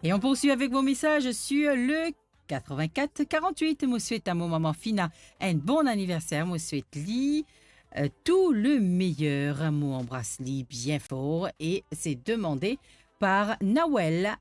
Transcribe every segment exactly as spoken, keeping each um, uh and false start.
Et on poursuit avec vos messages sur le quatre-vingt-quatre quarante-huit. Mo swet a mo mama Fina enn bon anniverser. Mo swet li, euh, tout le meilleur. Mo anbras li bien for e se demande par Nawel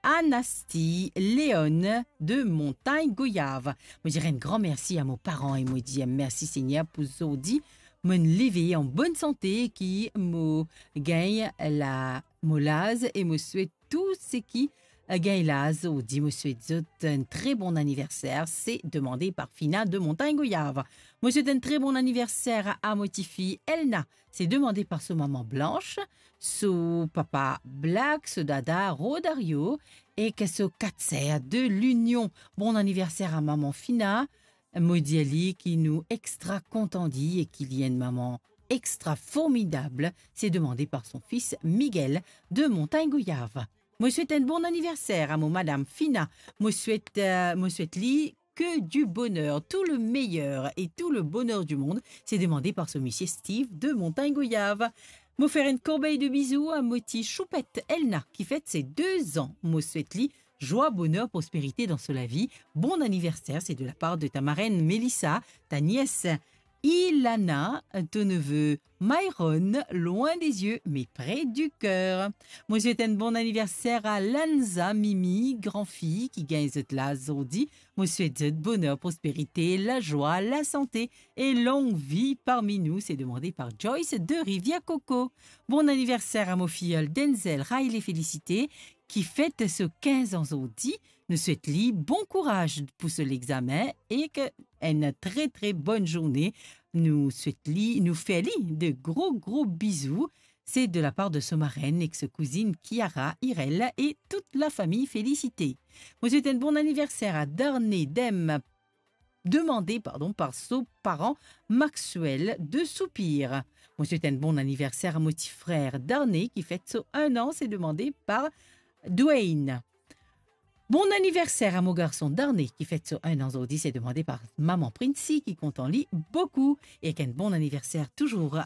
Anastie Leon de Montagne Goyave. Mo dir enn gran mersi a mo paran e mo dir mersi Segner pou zordi. Mo leve an bonn sante, ki mo gagn la, mo laz e mo swet tou seki, euh, gagn laz zordi. Mo swet zot enn tre bon anniverser, se demande par Fina de Montagne Goyave. Mo swet enn tre bon anniverser a mo tifi Elna, se demande par so mama Blanche, so papa Black, so dada Rodario, ek so kat ser de Linion. Bon anniverser a mama Fina. Mo dir li ki nou extra kontan li e ki li enn mama extra formidab, se demande par son fis Miguel de Montagne Goyave. Mo swet enn bon anniverser a mo madam Fina. Mo swet, euh, mo swet li que du bonheur, tout le meilleur et tout le bonheur du monde, se demande par so misie Steve de Montagne Goyave. Mo fer enn korbey de bizou a mo ti choupet Elna, ki fet se de zan. Mo swet li joie, bonheur, prospérité dans son lavi. Bon anniverser, se de la par de ta marenn Melissa, ta nies Ilana, to neve Myron, loin des yeux, mais près du cœur. Mo swet enn bon anniverser a Lanza, Mimi, granfi, ki gagn zot laz zordi. Mo swet zot boner, prosperite, lazwa, lasante e long vi parmi nou, se demande par Joyce de Rivière Coco. Bon anniverser a mo fiyol Denzel Riley Félicité, ki fet so kinz an zordi. Nou swet li bon kouraz pou so lexame ek enn tre, tre bonn zourne. Nou swet li, nou fer li de gro, gro bizou. Se de la par de so marenn ek so kouzinn Kiara, Irel e tout lafami Félicité. Mo swet enn bon anniverser a Darne Dem, demande, pardon, par so paran Maxwell de Soupir. Mo swet enn bon anniverser a mo ti frer Darne ki fet so enn an, se demande par Dwayne. Bon anniverser a mo garson Darne ki fet so enn an zordi, se demande par maman Princy ki kontan li boukou. Ek enn bon anniverser touzour